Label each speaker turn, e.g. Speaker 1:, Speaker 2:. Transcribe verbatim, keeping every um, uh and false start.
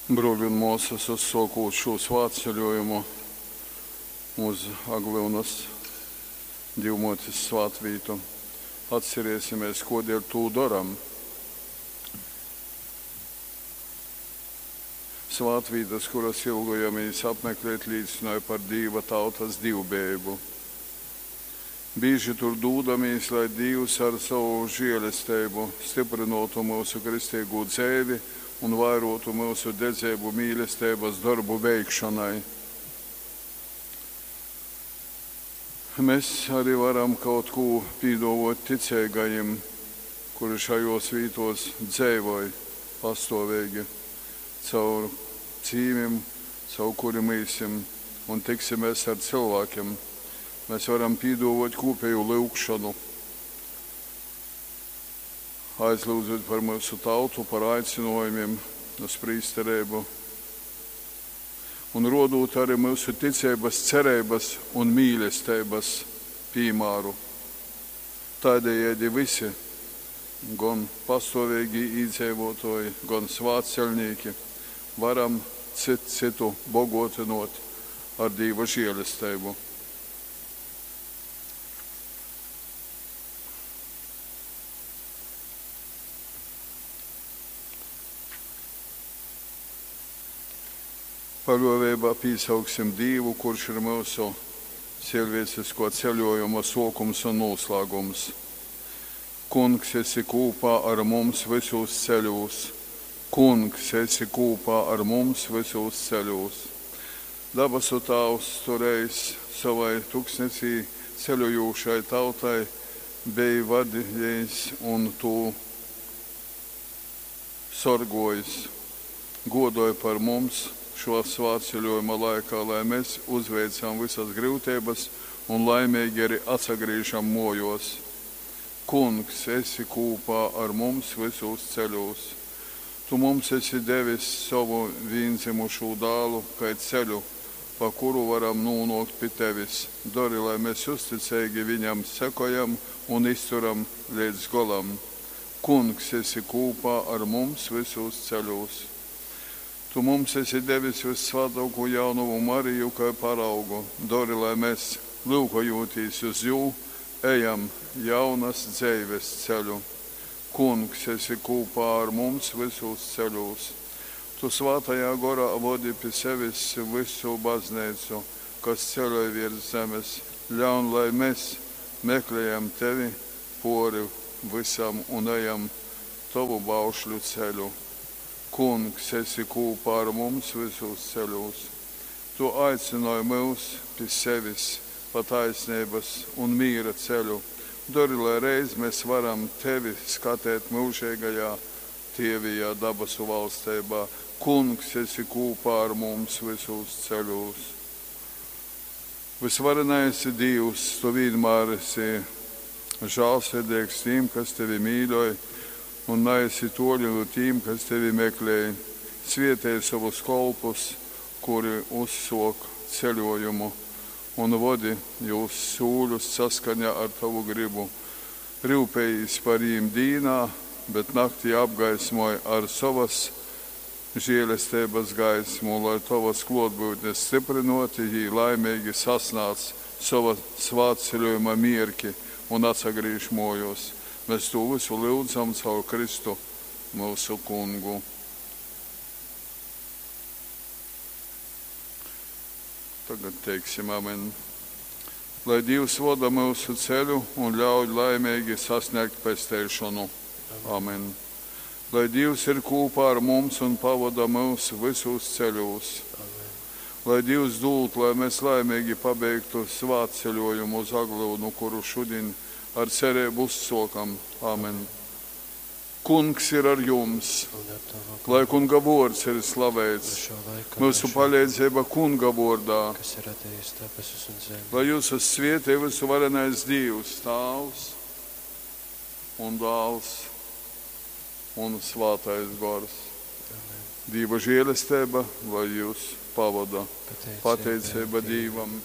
Speaker 1: Bruoļi un muosys, uzsuokūt šū svātceļuojumu uz Aglyunys Dīvmuotis svātvītu, atcerēsimies, kuodēļ tū doram. Svātvītas, kuras ilgojamīs apmeklēt, līcynoj par Dīva tautas dīvbejeibu. Bīži tur dūdamīs, lai Dīvs ar sovu žielesteibu styprynuotu myusu kristīgū dzeivi un vairuotu myusu dedzeibu mīlesteibys dorbu veikšonai. Mes ari varam kaut kū pīduovuot ticeigajim, kuri šajuos vītuos dzeivoj pastuoveigi, caur cīmim, caur kurim īsim un tiksimēs ar cylvākim. Mēs varam pīduovuot kūpeju lyugšonu, aizlyudzūt par myusu tautu, par aicynuojumim uz prīstereibu un ruodūt ari myusu ticeibys, cereibys un mīlesteibys pīmāru. Tādējādi vysi, gon pastuoveigī īdzeivuotuoji, gon svātceļnīki, varam cyt cytu boguotynuot ar Dīva žielesteibu. Paļuoveibā pīsauksim Dīvu, kurš ir myusu ciļvieciskuo ceļuojuma suokums un nūslāgums. Kungs, esi kūpā ar mums vysūs ceļūs! Kungs, esi kūpā ar mums vysūs ceļūs! Dabasu Tāvs, Tu reiz sovai tuksnesī ceļojūšai tautai beji vadiejs un tū sorguojs. Guodoj par mums šuo svātceļuojuma laikā, lai mes uzveicam vysys gryuteibys un laimeigi ari atsagrīžam muojuos. Kungs, esi kūpā ar mums vysūs ceļūs! Tu mums esi devis sovu vīndzymušū dālu kai ceļu, pa kuru varam nūnuokt pi tevis. Dori, lai mes uzticeigi viņam sekojam un izturam leidz golam. Kungs, esi kūpā ar mums vysūs ceļūs! Tu mums esi devis vyssvātuokū jaunovu Mariju kai paraugu. Dori, lai mes, lyukojūtīs uz jū, ejam jaunys dzeivis ceļu. Kungs, esi kūpā ar mums vysūs ceļūs! Tu Svātajā Gorā vodi pi sevis vysu bazneicu, kas ceļoj viers zemes. Ļaun, lai mes meklejam tevi puori vysam un ejam tovu baušļu ceļu. Kungs, esi kūpā ar mums vysūs ceļūs! Tu aicynoj myus pi sevis pa taisneibys un mīra ceļu. Dori, lai reiz mes varam tevi skatēt myužeigajā tievijā dabasu valsteibā. Kungs, esi kūpā ar mums vysūs ceļūs! Vysvarenais Dīvs, tu vīnmār esi žālsirdeigs tīm, kas tevi mīļoj, un naesi tuoli nu tīm, kas tevi meklej. Svietej sovus kolpus, kuri uzsuok ceļuojumu, un vodi jūs sūļus saskaņā ar tovu grybu. Ryupejīs par jīm dīnā, bet naktī apgaismoj ar sovys žielesteibys gaismu, lai tovys kluotbyutnis styprynuoti jī laimeigi sasnādz sova svātceļuojuma mierki un atsagrīž muojuos. Mes tū vysu lyudzam caur Kristu myusu Kungu. Tagad teiksim amen. Lai Dīvs voda myusu ceļu un ļauj laimeigi sasniegt pesteišonu. Amen. Lai Dīvs ir kūpā ar mums un pavoda myus vysūs ceļūs.
Speaker 2: Amen.
Speaker 1: Lai Dīvs dūd, lai mēs laimeigi pabeigtu svātceļuojumu uz Aglyunu, kuru šudiņ ar cereibu uzsuokam. Amen. Kungs ir ar jums,
Speaker 2: Un ar tavu
Speaker 1: lai
Speaker 2: garu.
Speaker 1: Kunga vuords ir
Speaker 2: No
Speaker 1: slaveits.
Speaker 2: šā laika
Speaker 1: Myusu
Speaker 2: mūžā,
Speaker 1: paleidzeiba Kunga vuordā.
Speaker 2: kas ir radījis debesis un zemi.
Speaker 1: Lai jūsus svietej vysuvarenais Dīvs, Tāvs un Dāls un Svātais Gors.
Speaker 2: Amen.
Speaker 1: Dīva žēlesteiba, lai jūs pavoda.
Speaker 2: Pateicība
Speaker 1: Pateiceiba Dīvam.